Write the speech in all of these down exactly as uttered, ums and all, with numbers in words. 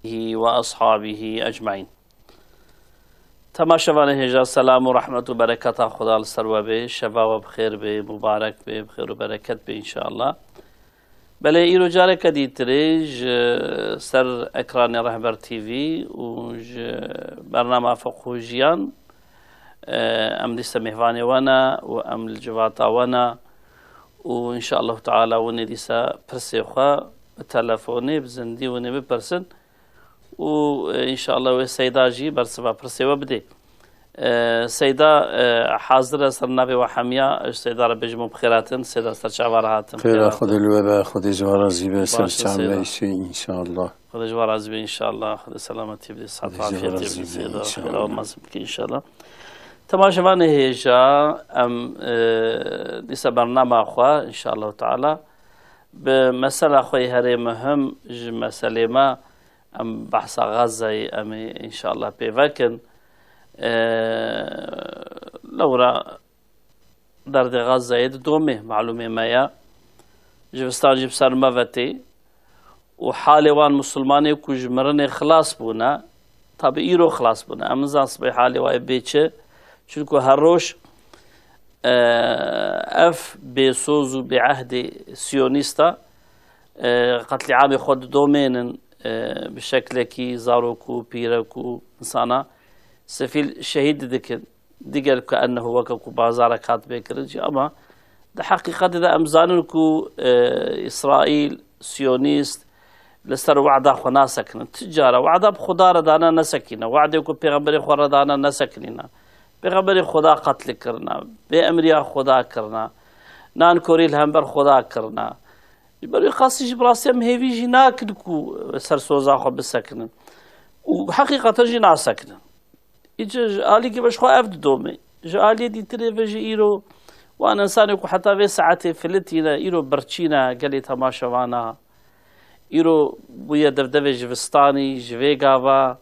آله وأصحابه أجمعين. Temaşevanê hêja, selam û rehmet û bereketa Xuda li ser we bê. Şeva we bi xêr bê, mubarek bê, bi xêr û bereket bê înşallah. Belê îro careke dîtirê ji ser ekranê Rehber T V û ji bernama Fiqh û Jiyan, e, em dîsa mêvanê we ne û em li civata we ne û înşallah teala winê dîsa pirsê xwe bi telefonê, bi zindî winê bipirsin. û, e, înşallah wê Seyda jî bersiva pirsê we bidê. E, Seyda, e, hazir e ser navê we hemiya, ji Seyda re bêjim û bi xêr hatin, Seyda ser çava re hatin. Xêra Xwedê li we be, Xwedê ji we razî be, ser çavê me îşê înşallah. Xwedê ji we razî be înşallah, Xwedê selametî bidê, sihet afiyetê bidê Seyda, xêra we mezin bike înşallah. Temaşevanê hêja, em, e, dîsa bernama xwe înşallah teala bi mesela xwe yê herê muhim ji meselê me Em behsa Xezzeyê em ê înşallah pê vekin. E, lewra derdê Xezzeyê didomê, malûmê me ye. Jivistan jî bi ser me ve tê. Û halê wan misilmanê ku ji mirinê xilas bûne, tabi îro xilas bûne. Em nizan sibê halê wa yê bê çi. Çunku her roj, e, ev bêsoz û bêehdê siyonîsta, e, qetlîamê xwe didomênin, e, bi şeklekî zarok û pîrek û insana sefîl şehîd dikin. Diger ku ennehu weke ku bazarek hat bê kirin jî, ama di heqîqetê de em zanin ku, e, Îsraîl, Siyonîst li ser wehda xwe nasekinin. Ti cara wehda bi Xuda re dane nesekîne. Wehdê ku pêxemberê xwe re dane nesekinîne. Pêxemberê Xuda qetlî kirine. Bê emriya Xuda kirine. Nan korî li hember Xuda kirine. Ji ber wî qasî jî bi rastî em hêvî jî nakin ku ser soza xwe bisekinin. Û heqîqeten jî nasekinin. Îca ji alîkî ve ji xwe ev didome. Ji aliyê dîtirê ve jî îro wan insanê ku heta vê saetê filitîne, îro birçî ne gelê temaşevana. Îro bûye devdevê jivistanî, ji vê gava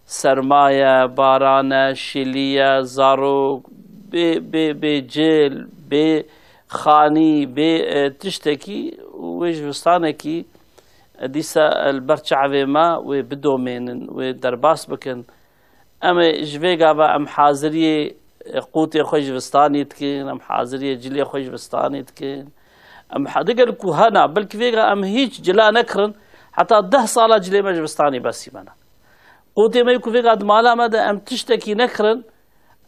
serma ye, baran e, şilî ye, zarok, bê, bê, bê cil, bê xanî, bê, e, tiştekî, wê jivistanekî, e, dîsa, e, li ber çavê me wê bidomênin, wê derbas bikin. Em ê ji vê gava em haziriyê, e, qûtê xwe jivistanî dikin, em haziriyê cilê xwe jivistanî dikin. Em ha-, diger ku hena, belkî vêga em hîç cila nekirin, heta deh sala cilê me jivistanî besî me ne. Qûtê me ku vêga di mala me de em tiştekî nekirin,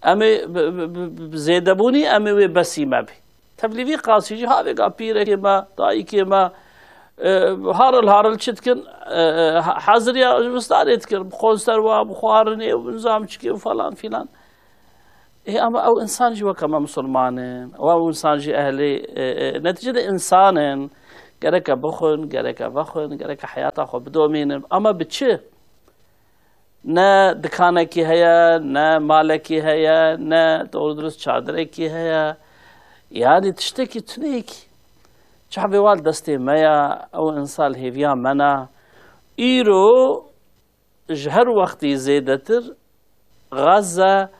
em ê bi, bi, bi, bi zêdebûnî em ê wê besî me bî. Tevlî vî qasî jî ha vêga pîrekê me, dayikê me, e, haril haril çi dikin, e, e, ha-, haziriya zivistanê dikin, bi konserwa, bi xwarinê û nizam çikê û falan filan. Ê, ama ew insan jî weke me misilman in, ew, ew insan jî ehlê, e, e, neticede insan in, gereke bixwin, gereke vexwin, gereke heyata xwe bidomînin, ama bi çi? Ne dikanekî heye, ne malekî heye, ne doğru dürüst çadirekî heye. Yani tiştekî tuneyekî. Çavê wa li destê me ya, ew insan li hêviya me na. Îro ji her wextî zêdetir Gaza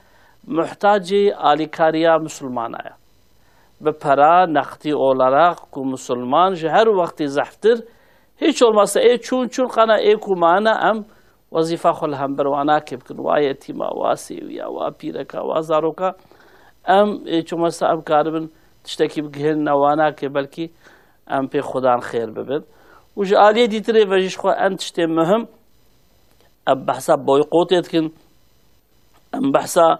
muhtacê alîkariya misilmana ye. Bi pera, neqdî olarak ku misilman ji her wextî zehftir, hiç olmazsa ê çûn çûn qana ê ku mane em wezîfa xwe li hember wana kê bikin, wa yetîma, wa sêwiya, wa pîreka, wa zaroka, em ê çûmesta em karibin tiştekî bigihînine wana kê, belkî em pê xudan xêr bibin. Û ji aliyê dîtirê ve jî ji xwe en tiştê muhim, em behsa boykotê dikin, em behsa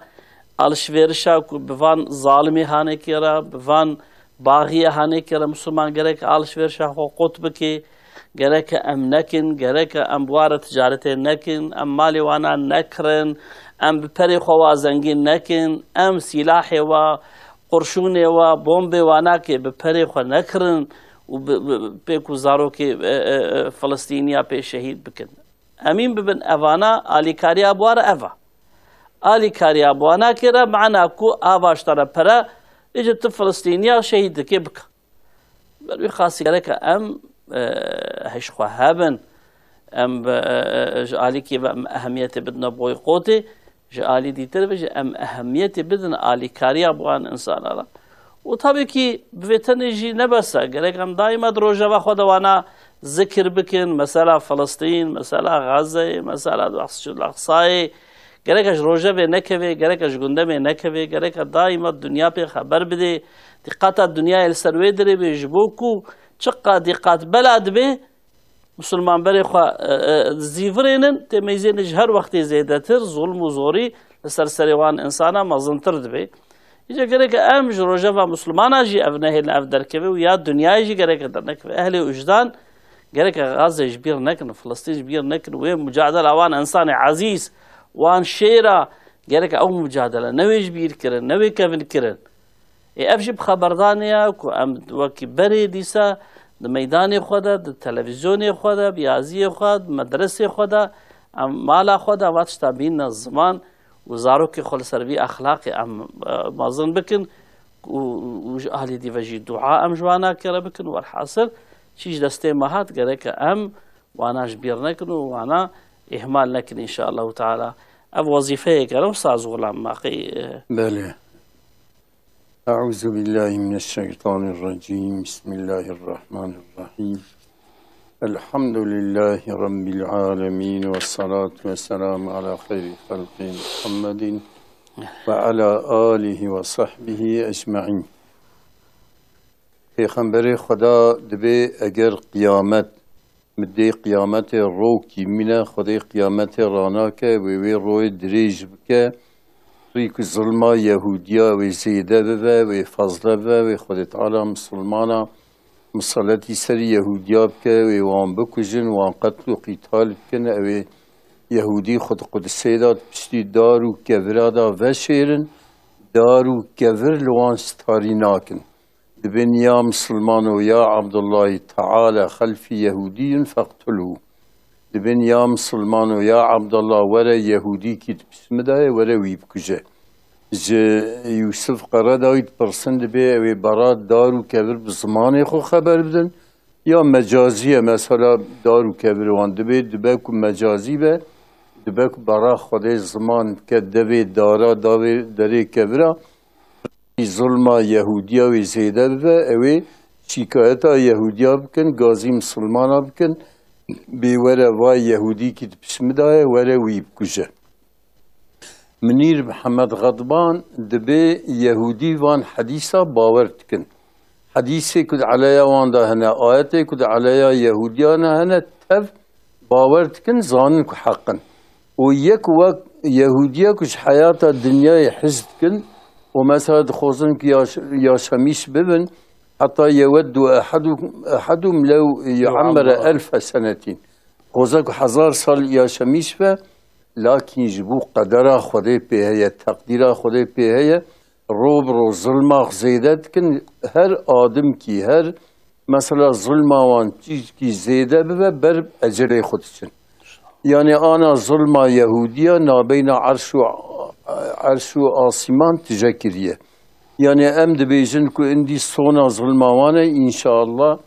alişverişa ku bi van zalimê hanekê re, bi van baxiyê hanekê re misilman gerek alişverişa xwe qut bike, gereke em nekin, gereke em bi wa re ticaretê nekin, em malê wana nekirin, em bi perê xwe wa zengîn nekin, em sîlahê wa, qurşûnê wa, bombê wa nake bi perê xwe nekirin û bi, bi, bi pê ku zarokê, e, e, e, Filistîniya pê şehîd bikin. Emîn bibin evana alîkariya bi wa re ev e. Alîkariya bi wa nake re mana ku ava ji te re pere, îca tu Filistîniya şehîd dike bike. Ber wî qasî gereke em, e, hej xwe hebin, em bi, e, e, ji alîkî ve em ehemiyetê bidine boykotê, ji alî dîtir ve jî em ehemiyetê bidin alîkariya bi wan insana re. Û tabii ki bi vê tenê jî ne bes e, gerek em daîma di rojeva xwe de wana zikir bikin, mesela Filistîn, mesela Gazeyê, mesela Mescid Aqsayê. Gereke ji rojevê nekevê, gereke ji gundemê nekevê, gereke daîma dinya pê xeber bidê. Dîqata dinyayê li ser wê dirê bê, ji bo ku çiqa dîqat bela dibe, Misilman berê xwe, e, e, zîvirênin, tê meyzênin ji her wextê zêdetir, zulm û zorî li ser serê wan insana mezintir dibe. Îca gereke em ji rojeva Misilmana jî ev nehêlin, ev derkeve û ya dinyayê jî gereke dernekeve. Ehlê wijdan gereke Gazze ji bîr nekin, Filistîn ji bîr nekin. Wê mucadela wan insanê ezîz, wan şêra, gereke ew mucadele ne wê ji bîr kirin, ne wê kevin kirin. Ê ev jî bi xeberdanê ye ku em wekî berê dîsa di meydanê xwe de, di televîzyonê xwe de, bi yaziyê xwe, di medresê xwe de, em mala xwe de va tişta bînne ziman û zarokê xwe li ser vî exlaqê em, e, mezin bikin û, û ji alî dî ve jî dua em ji wan nakere bikin. Werhasil çi ji destê me hat gereke em wana ji bîr nekin û wana îhmal nekin înşaallahu teala. Ev wezîfeyek e, wisa ez Xulam Maqî, e, Belê. أعوذ بالله من الشيطان الرجيم. بسم الله الرحمن الرحيم. الحمد لله رب العالمين، والصلاة والسلام على خير خلقه محمد وعلى آله وصحبه أجمعين. Pêxemberê Xweda dibê eger qiyamet, midê qiyametê rokî mîne, Xwedê qiyametê ranake, wê wê royê dirêj bike, rî ku zilma Yehûdiya wê zêde bibe, wê fezle bibe, wê Xwedê Teala misilmana miseletî serî Yehûdiya bike, wê wan bikujin, wan qetl û qîtal bikin, ew ê Yehûdî xwe di Qudisê de di piştî dar û kevira de veşêrin, dar û kevir li wan starî nakin. Dibên ya misilmano ya Abdullahî teala xelfî Yehûdiyun feqtulhu. Dibên ya misilmano ya Abdullah were Yehûdîkî di pişt min de ye, were wî bikuje. Ji Yûsif Qeredawî dipirsin, dibê ew ê bera dar û kevir bi zimanê xwe xeber bidin, ya mecazî ye, mesela dar û kevir wan dibê, dibe ku mecazî be, dibe ku bera Xwedê ziman bike devê dara, davê derê kevira, zulma Yehûdiya wê zêde bibe, ew ê şîkayeta Yehûdiya bikin, gazî misilmana bikin, bê were vay Yehûdîkî di pişt min de ye, were wî bikuje. Minîr Mihemed Xedban dibê Yehûdî van hedîsa bawer dikin. Hedîsê ku di eleya wan de hene, ayetê ku di eleya Yehûdiyan de hene, tev bawer dikin, zanin ku heq in. Û yek wek Yehûdiya ku ji heyata dinyayê hez dikin û mesela dixwazin ku yaş-, yaşemîş bibin, heta yeweddu ehadu-, ehadum lew yu'ammere elfe senetîn. Dixwaze ku hezar sal yaşemîş be, Lakîn ji bo qedera Xwedê pê heye, teqdîra Xwedê pê heye, ro bi ro zilma zêde dikin, her adimkî, her mesela zilma wan çîkî zêde bibe, ber ecelê xwe diçin. Yanî ana zilma Yehûdiya nabeyna erş û, erş û asîman tije kiriye. Yanî em dibêjin ku indî sona zilma wan e, înşaallah,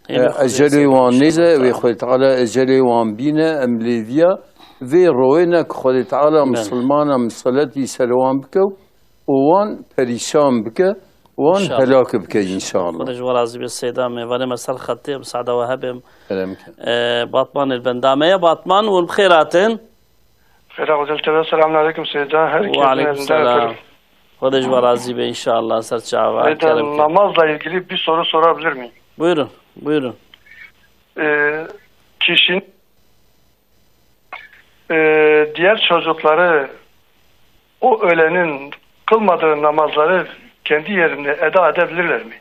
Ê, e, bi Xwedê ecelê zêde wan nêze, inşallah wê Teala. Xwedê Teala ecelê wan bîne, em lê viya vê royê ne ku Xwedê Teala Belê. Misilmana miseletî ser wan bike û wan perîşan bike, wan İnşallah. Helak bike înşallah. Xwedê ji we razî be Seyda, mêvanê me ser xetê, em sada we hebê. Kerem ke. E, Batmanê li benda me ye, Batman, hûn bi xêr hatin. Xêra Xwedê Teala, selamun aleyküm Seyda. Her Ve aleyküm selam. Xwedê ji we razî be inşallah, ser çava, Seyda, kerem ke. Namazla ilgili bir soru sorabilir miyim? Buyurun, buyurun. Ee, kişinin, ee, diğer çocukları o ölenin kılmadığı namazları kendi yerinde eda edebilirler mi?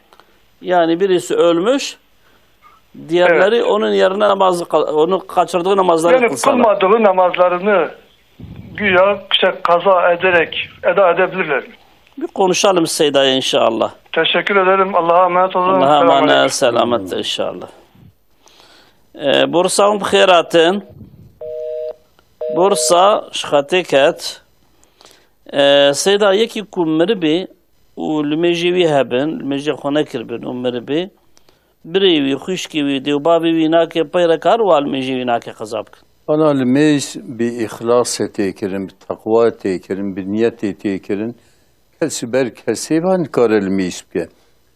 Yani birisi ölmüş, diğerleri Evet. onun yerine namazı kıl-, onu kaçırdığı namazları Yani kılsalar. Kılmadığı namazlarını güya işte kaza ederek eda edebilirler mi? Bir konuşalım Seyda'ya inşallah. Teşekkür ederim. Allah'a emanet olun. Allah'a Selamun emanet, aleyküm. Selamet inşallah. E, Bursa hûn bi xêr hatin. Bursa ji xetê ket. E, Seyda, yekî ku miribê û limêjê wî hebin, limêjê xwe nekiribin û miribê, birê wî, xwişkê wî, dê û bavê wî nake pey re, kar wa limêjê wî nake qeza bikin? Ana limêj bi îxlasê tê kirin, bi teqwa tê kirin, bi niyetê tê kirin. Kes ji ber kesê ve nikare limêj bike.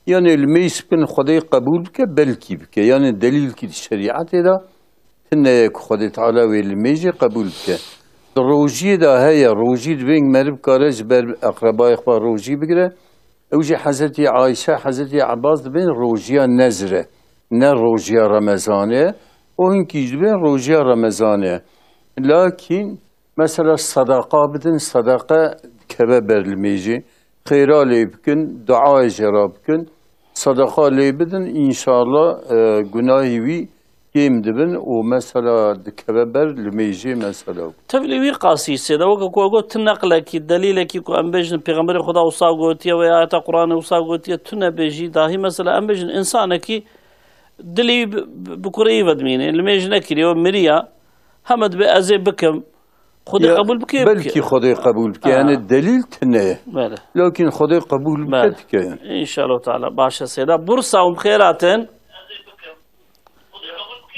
Yanî limêj bikin Xwedê qebûl bike, belkî bike. Yanî delîlkî di şerîetê de tune ye ku Xwedê Teala wê limêjê qebûl bike. Di rojiyê de heye, rojî dibên meriv kare ji ber eqrebayê xwe rojî bigire. Ew jî Hezretî Ayşe, Hezretî Ebas dibên rojiya nezr e, ne rojiya Remezanê ye. Û hinkî jî dibên rojiya Remezanê ye. Lakîn mesela sedaqa bidin, sedaqa dikeve ber limêjê. Xêra lê bikin, duayê jê re bikin. Sedaqa lê bidin, înşallah, e, gunahî wî kêm dibin û mesela dikeve ber limêjê mesela. Tevlî wî qasî sêde weke ku got tu neqlekî, delîlekî ku em bêjin Pêxemberê Xweda wisa gotiye ve ya ayeta Qur'anê wisa gotiye, tu nebêjî, dahî mesela em bêjin însanekî dilî bi, bi, bi kureyî vedimîne, limêj nekiriye, miriya, heme dibe ez ê bikim. Xwedê Ya, qebûl bike, belkî bike. Xwedê qebûl bike. Ha. Yani delîl tune ye. Bele. Lakin Xwedê qebûl bike Bele. dike yani. İnşallah Teala. Baş e seyda. Bursa, hûn bi xêr hatin.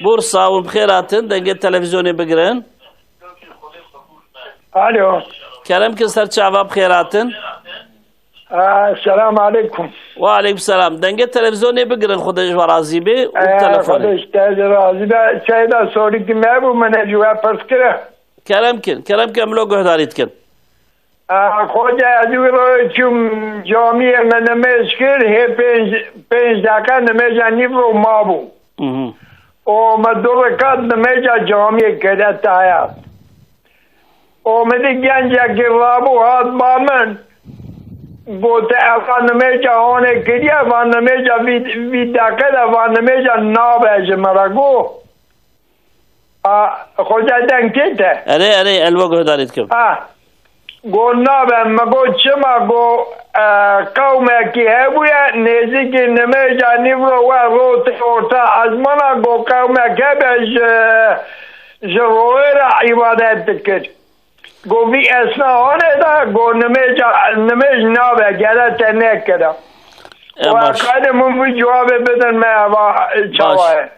Bursa, hûn bi xêr hatin. Dengê televizyonê bigirin. Alo. Kerem ki ser çava bi xêr hatin. Aa, selam aleyküm. Ve aleyküm selam. Dengê televizyonê bigirin, Xwedê ji we razî be, û Ee, telefonê. Xwedê ji te jî razî be. Seyda, sorî ki me bû, min ji we pirs kire. Kerem kin, kerem kin, em lo guhdarî dikin. Aa, Xwedê, ez wî ro çûm camiyê, me nimêj kir, hê pênc, pênc deqe nimêja nîvro mabû. Mhm. Û me du rekat nimêja camiyê kire tayar. Û min dî gencekî rabû hat ba min, got, "Eva nimêja honê kiriye, va nimêja vî, vî deqe de va nimêja nabe ji min re." Got, "A, Xoca deng tê te?" Erê, erê, elwa guhdarî dikim. A, got, "Nabe." Me got, "Çima?" Got, "E, qewmekî hebûye, nêzîkî nimêja nîvro we rotê orta ezmana, got, qewmek hebe ji, ji royê re îbadet dikir." Go vî esna hane da, go nimêja, nimêj nabe, gere te nekira. E, Wa baş. Qadê min vî cewabê bidin me, eva çawa ye?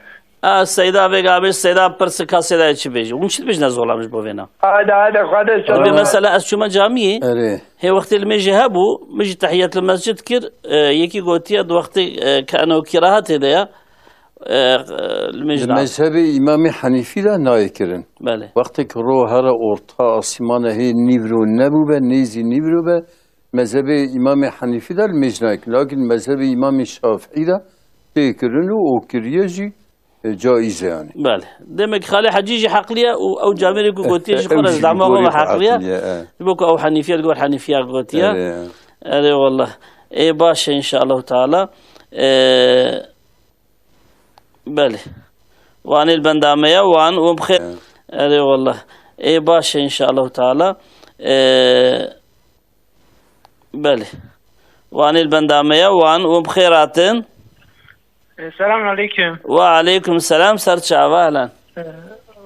A, Seyda vê gabê, Seyda pirsika Seyda çi bêjî? Hûn çi dibêjin, ez zolam ji bo vêna? Hadi, hadi, Xwedê Abi, selam. Mesela ez çûme camiyê, Erê. hê wextê limêjê hebû, min jî tehiyetli mescid kir, e, yekî gotiye di wextê, e, ke eno kirahetê de ya, e, e, limêj Di da. mezhebê Îmamê Henîfî de nayê kirin. Belê. Wextê ki ro here orta asîmana hê nîvro nebûbe, nêzî nîvro be, mezhebê Îmamê Henîfî de limêj nayê kirin. Lakin mezhebê Îmamê Şafîî de tê kirin û o kiriye jî, e, caiz e yani. Belê. Demek Xalê Hecî jî heqliye û ew camêrê ku gotiye jî Ew xwe re jî ji dama xwe ve goyê heqliye. heqliye, e. Ji bo ku ew Henîfiye li gor Henîfiya gotiye. Erê. Erê wallah. Ê baş e, înşallah teala. E, Belê. Wanê li benda me ye, wan û bi xêr. Erê wallah. Ê baş e, înşallah teala. E, belê. Wanê li benda me ye, wan û bi xêr hatin. E, selam aleyküm. Ve aleyküm selam, ser çava, ehlen. E,